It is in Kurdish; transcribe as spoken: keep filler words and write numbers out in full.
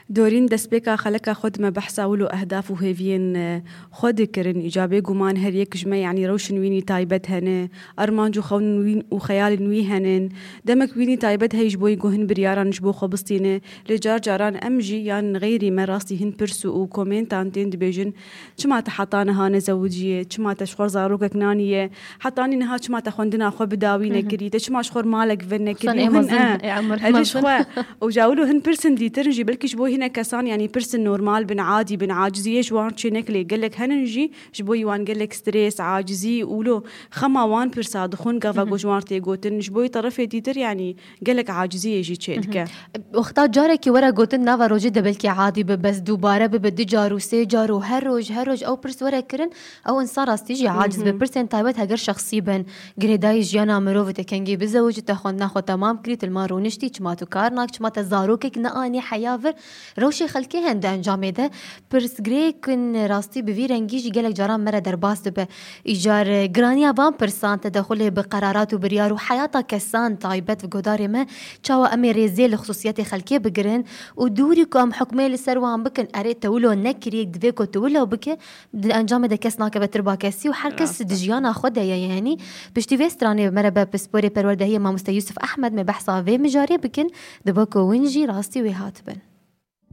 Dorîn, destpêka xeleka xwe dime behsa wilo ehdaf û hêviyên, e, xwe dikirin. Îca bêguman her yek ji me, yanî rewşin wînî taybet hene, armanc û xewnên wîn û xeyalên wî henin. Demek wînî taybet heye ji bo ku hin biryaran ji bo xwe bistîne. Lê car caran em jî yan xeyrî me rastî hin pirs û komentan tên dibêjin, çima te heta niha nezewiciye, çima te ji xwe zarokek naniye, heta nî niha çima te xwendina xwe bi dawî nekirî, te çima ji xwe malek vir nekirî. Û hin, e, hêdî ji xwe. Û ja wilo hin pirsin dîtir jî, belkî ji bo hinek kesan, yanî pirsin normal bin, adî bin, aciziyê ji wan çê nekilê. Gelek henin jî, ji bo wan gelek stres, acizî û lo xema wan pirsa dixwin, gava ku ji wan tê gotin, ji bo terefê dîtir, yanî gelek aciziyê jî çê dike. Wexta carekî were gotin nava rojê de belkî adî be, bes dubare bibe du car û sê car û her roj, her roj ew pirs were kirin, ew insan rastî jî aciz be. Pirsên taybet heger şexsî bin, girêdayî jiyana mirov, te kengî bizewicî, te xwendina xwe temam kirî, tu li mal rûniştî, çima tu kar nak, çima te zarokek neanî heya vir, rewşê xelkê hende encamê de pirsgirêk in rastî bi vî rengî jî gelek caran me re derbas dibe. Îcar, e, giraniya van pirsan tedexulê bi qerarat û biryar û heyata kesan taybet bi guhdarê me, çawa em ê rêzê li xisûsiyetê xelkê bigirin û dûrî ku em hukmê li ser wan bikin, erê te wilo nekiriye, divê ku tu wilo bike, di encamê de kes nakeve tirba kesî û her kes di jiyana xwe de ye. Yanî piştî vê stranê me re be pisporê perwerdehiyê mamoste Yusuf Ahmed me behsa vê mijarê bikin, dibe ku win jî rastî wê hatibin.